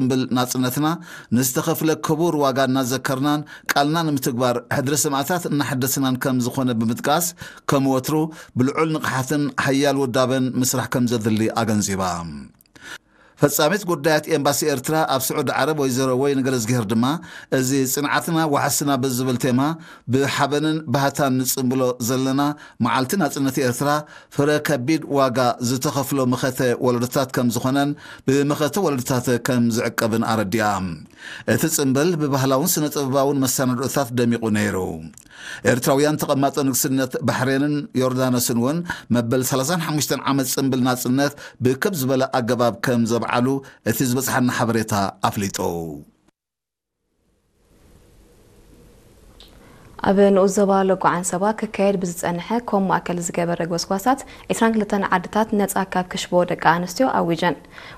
ጽምብል ናጽነትና ንዝተኸፍለ ክቡር ዋጋ እናዘከርናን ቃልና ንምትግባር ሕድሪ ሰማእታት እናሐደስናን ከም ዝኾነ ብምጥቃስ፣ ከም ወትሩ ብልዑል ንቕሓትን ሓያል ውዳበን ምስራሕ ከም ዘድሊ ኣገንዚባ። ፈጻሚት ጉዳያት ኤምባሲ ኤርትራ ኣብ ስዑዲ ዓረብ ወይዘሮ ወይን ገለዝግሄር ድማ፣ እዚ ጽንዓትና ዋሕስና ብዝብል ቴማ ብሓበንን ባህታን ንጽምብሎ ዘለና መዓልቲ ናጽነት ኤርትራ ፍረ ከቢድ ዋጋ ዝተኸፍሎ መኸተ ወለዶታት ከም ዝኾነን ብመኸተ ወለዶታት ከም ዝዕቀብን ኣረዲኣ። እቲ ጽምብል ብባህላውን ስነ ጥበባውን መሰናድኦታት ደሚቑ ነይሩ። ኤርትራውያን ተቐማጦ ንግስነት ባሕሬንን ዮርዳኖስን እውን መበል ሰላሳን ሓሙሽተን ዓመት ጽምብል ናጽነት ብክብ ዝበለ ኣገባብ ከም ዘብዓሉ እቲ ዝበጽሓና ሓበሬታ ኣፍሊጡ። ኣብ ንኡስ ዞባ ሎጎ ዓንሰባ ክካየድ ብዝጸንሐ ኮም ማእከል ዝገበረ ጎስጓሳት፣ ዒስራን ክልተን ዓድታት ነጻ ካብ ክሽቦ ደቂ ኣንስትዮ ኣዊጀን።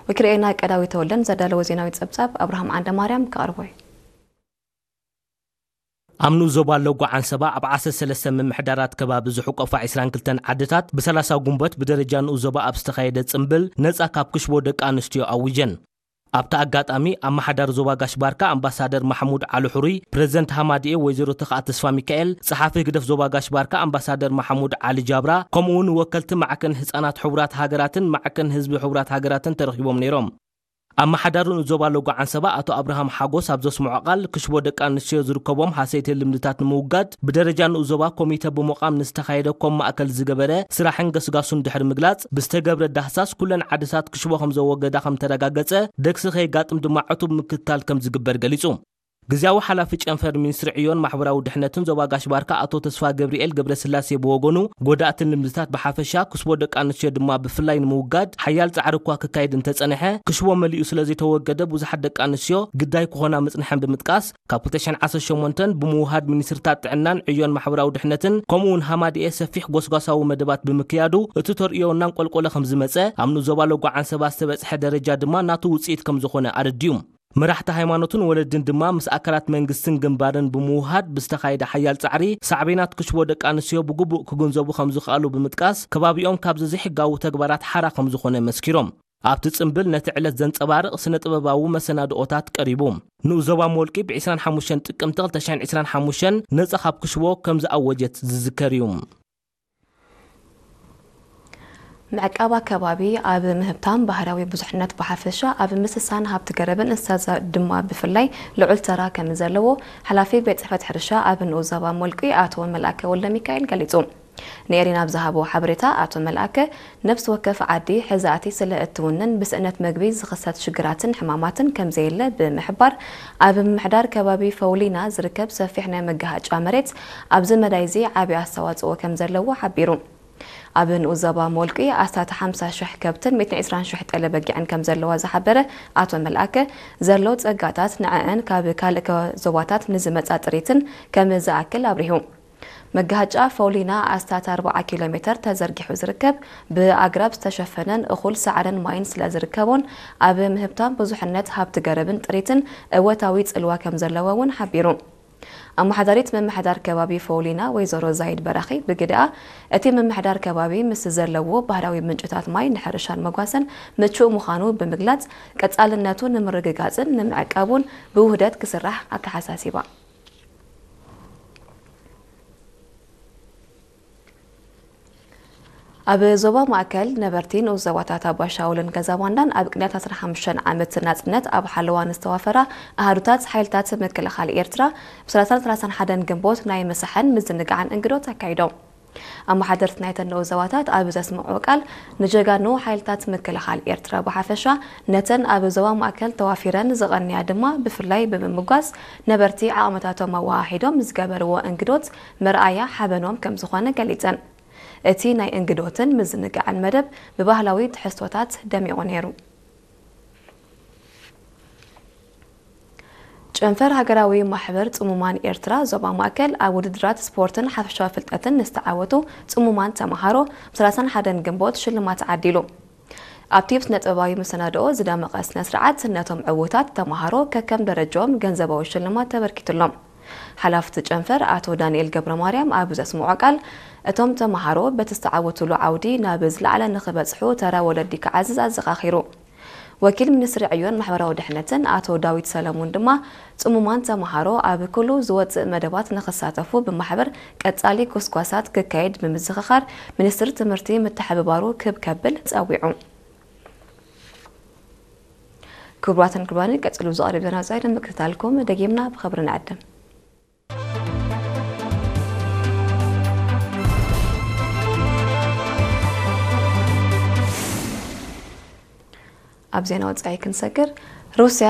ወኪልኤና ቀዳዊ ተወልደን ዘዳለዎ ዜናዊ ጸብጻብ ኣብርሃም ዓንደማርያም ከቕርቦ እዩ። ኣብ ንኡስ ዞባ ሎጎ ዓንሰባ ኣብ ዓሰርተ ሰለስተ ምምሕዳራት ከባቢ ዝሕቆፋ ዒስራን ክልተን ዓድታት ብሰላሳ ጉንበት ብደረጃ ንኡስ ዞባ ኣብ ዝተኻየደ ጽምብል ነጻ ካብ ክሽቦ ደቂ ኣንስትዮ ኣዊጀን። ኣብቲ ኣጋጣሚ ኣመሓዳሪ ዞባ ጋሽ ባርካ ኣምባሳደር ማሕሙድ ዓሊ ሕሩይ፣ ፕረዚደንት ሃማድኤ ወይዘሮ ተኽኣ ተስፋ ሚካኤል፣ ጸሓፊ ህግደፍ ዞባ ጋሽ ባርካ ኣምባሳደር ማሕሙድ ዓሊ ጃብራ፣ ከምኡ እውን ወከልቲ ማዕከን ህጻናት ሕቡራት ሃገራትን ማዕከን ህዝቢ ሕቡራት ሃገራትን ተረኺቦም ነይሮም። ኣመሓዳሪ ንኡስ ዞባ ሎጎ ዓንሰባ ኣቶ ኣብርሃም ሓጎስ ኣብ ዘስምዖ ቃል፣ ክሽቦ ደቂ ኣንስትዮ ዝርከቦም ሃሰይቲ ልምድታት ንምውጋድ ብደረጃ ንኡስ ዞባ ኮሚተ ብምቋም ንዝተኻየደ ኮም ማእከል ዝገበረ ስራሕን ገስጋሱን ድሕሪ ምግላጽ፣ ብዝተገብረ ዳህሳስ ኩለን ዓድታት ክሽቦ ከም ዘወገዳ ከም ተረጋገጸ፣ ደግሲ ከየጋጥም ድማ ዕቱብ ምክትታል ከም ዝግበር ገሊጹ። ግዝያዊ ሓላፊ ጨንፈር ሚኒስትሪ ዕዮን ማሕበራዊ ድሕነትን ዞባ ጋሽ ባርካ ኣቶ ተስፋ ገብርኤል ገብረስላሴ ብወገኑ፣ ጎዳእትን ልምድታት ብሓፈሻ ክሽቦ ደቂ ኣንስትዮ ድማ ብፍላይ ንምውጋድ ሓያል ጻዕሪ እኳ ክካየድ እንተጸንሐ፣ ክሽቦ መሊኡ ስለ ዘይተወገደ ብዙሓት ደቂ ኣንስትዮ ግዳይ ክኾና ምጽንሐን ብምጥቃስ፣ ካብ ክልተ ሽሕን ዓሰርተ ሸሞንተን ብምውሃድ ሚኒስትርታት ጥዕናን ዕዮን ማሕበራዊ ድሕነትን ከምኡ እውን ሃማድኤ ሰፊሕ ጎስጓሳዊ መደባት ብምክያዱ፣ እቲ ተርእዮ እናንቆልቆለ ከም ዝመጸ፣ ኣብ ንኡስ ዞባ ሎጎ ዓንሰባ ዝተበጽሐ ደረጃ ድማ ናቱ ውጽኢት ከም ዝኾነ ኣረዲኡ። መራሕቲ ሃይማኖትን ወለድን ድማ ምስ ኣካላት መንግስትን ግንባርን ብምውሃድ ብዝተኻየደ ሓያል ጻዕሪ፣ ሳዕቤናት ክሽቦ ደቂ ኣንስትዮ ብግቡእ ክግንዘቡ ከም ዝኸኣሉ ብምጥቃስ፣ ከባቢኦም ካብዚ ዘይሕጋዊ ተግባራት ሓራ ከም ዝኾነ መስኪሮም። ኣብቲ ጽምብል ነቲ ዕለት ዘንጸባርቕ ስነ ጥበባዊ መሰናድኦታት ቀሪቡ። ንኡስ ዞባ ሞልቂ ብ ዒስራን ሓሙሽተን ጥቅምቲ ክልተ ሽሕን ዒስራን ሓሙሽተን ነጻ ካብ ክሽቦ ከም ዝኣወጀት ዝዝከር እዩ። ምዕቃብ ኣከባቢ ኣብ ምህብታም ባህርያዊ ብዙሕነት ብሓፈሻ፣ ኣብ ምስሳን ሃብቲ ገረብን እንስሳ ዘ- ድማ ብፍላይ ልዑል ተራ ከም ዘለዎ ሓላፊ ቤት ጽሕፈት ሕርሻ ኣብ ንኡስ ዞባ ሞልቂ ኣቶ መልኣከ ወልደሚካኤል ገሊጹ። ንኤሪና ኣብ ዝሃቦ ሓበሬታ ኣቶ መልኣከ፣ ነፍሲ ወከፍ ዓዲ ሕዛእቲ ስለ እትውንን ብስእነት መግቢ ዝኽሰት ሽግራትን ሕማማትን ከም ዘየለ ብምሕባር፣ ኣብ ምምሕዳር ከባቢ ፈውሊና ዝርከብ ሰፊሕ ናይ መጋሃጫ መሬት ኣብዚ መዳይ እዚ ዓቢ ኣስተዋጽኦ ከም ዘለዎ ሓቢሩ። ኣብ ንኡስ ዞባ ሞልቂ ኣስታት ሓምሳ ሽሕ ከብትን ሚእትን ዕስራን ሽሕ ጠለ በጊዕን ከም ዘለዋ ዝሓበረ ኣቶ መልኣከ፣ ዘሎ ጸጋታት ንዐአን ካብ ካልእ ከ- ዞባታት ንዝመጻ ጥሪትን ከም ዝኣክል ኣብሪሁ። መጋሃጫ ፈውሊና ኣስታት ኣርብዓ ኪሎ ሜተር ተዘርጊሑ ዝርከብ፣ ብኣግራብ ዝተሸፈነን እኹል ሳዕርን ማይን ስለ ዝርከቦን፣ ኣብ ምህብታም ብዙሕነት ሃብቲ ገረብን ጥሪትን እወታዊ ጽልዋ ከም ዘለዎ እውን ሓቢሩ። ኣመሓዳሪት ምምሕዳር ከባቢ ፈውሊና ወይዘሮ ዛይድ በራኺ ብግደኣ፣ እቲ ምምሕዳር ከባቢ ምስ ዘለዎ ባህርያዊ ምንጭታት ማይ ንሕርሻን መጓሰን ምቹእ ምዃኑ ብምግላጽ፣ ቀጻልነቱ ንምርግጋጽን ንምዕቃቡን ብውህደት ክስራሕ ኣተሓሳሲባ። ኣብ ዞባ ማእከል ነበርቲ ንኡስ ዞባታት ኣባሻውልን ገዛባንዳን ኣብ ቅንያት ዓሰርተ ሓሙሽተ ዓመት ናጽነት ኣብ ሓለዋ ንዝተዋፈራ ኣሃዱታት ሓይልታት ምክልኻል ኤርትራ ብ ሰላሳን ሰላሳን ሓደን ግንቦት ናይ ምሳሕን ምዝንጋዕን እንግዶት ኣካይዶም። ኣመሓደርቲ ናይተን ንኡስ ዞባታት ኣብ ዘስምዑ ቃል፣ ንጀጋኑ ሓይልታት ምክልኻል ኤርትራ ብሓፈሻ፣ ነተን ኣብ ዞባ ማእከል ተዋፊረን ዝቐንያ ድማ ብፍላይ ብምምጓስ፣ ነበርቲ ዓቕምታቶም ኣወሃሂዶም ዝገበርዎ እንግዶት መርኣያ ሓበኖም ከም ዝኾነ ገሊጸን። እቲ ናይ እንግዶትን ምዝንጋዕን መደብ ብባህላዊ ትሕዝቶታት ደሚቑ ነይሩ። ጨንፈር ሃገራዊ ማሕበር ጽሙማን ኤርትራ ዞባ ማእከል ኣብ ውድድራት ስፖርትን ሓፈሻዊ ፍልጠትን ንዝተዓወቱ ጽሙማን ተመሃሮ ብ ሰላሳን ሓደን ግንቦት ሽልማት ዓዲሉ። ኣብቲ ብስነ ጥበባዊ መሰናድኦ ዝደመቐ ስነ ስርዓት ነቶም ዕዉታት ተመሃሮ ከከም ደረጃኦም ገንዘባዊ ሽልማት ተበርኪቱሎም። ሓላፍቲ ጨንፈር ኣቶ ዳንኤል ገብረ ማርያም ኣብ ዘስምዖ ቃል፣ እቶም ተመሃሮ በቲ ዝተዓወቱሉ ዓውዲ ናብ ዝለዓለ ንኽበጽሑ ተራ ወለዲ ክዓዝዝ ኣዘኻኺሩ። ወኪል ሚኒስትሪ ዕዮን ማሕበራዊ ድሕነትን ኣቶ ዳዊት ሰለሙን ድማ፣ ጽሙማን ተምሃሮ ኣብ ኩሉ ዝወጽእ መደባት ንኽሳተፉ ብማሕበር ቀጻሊ ጎስጓሳት ክካየድ ብምዝኽኻር፣ ሚኒስትሪ ትምህርቲ ምትሕብባሩ ክብ ከብል ጸዊዑ። ክቡራትን ክቡራንን፣ ቀጺሉ ዝቐርብ ዜና ወጻኢ ንምክትታልኩም ደጊምና ብኽብሪ ንዕድም። ኣብ ዜና ወጻኢ ክንሰግር፣ ሩስያ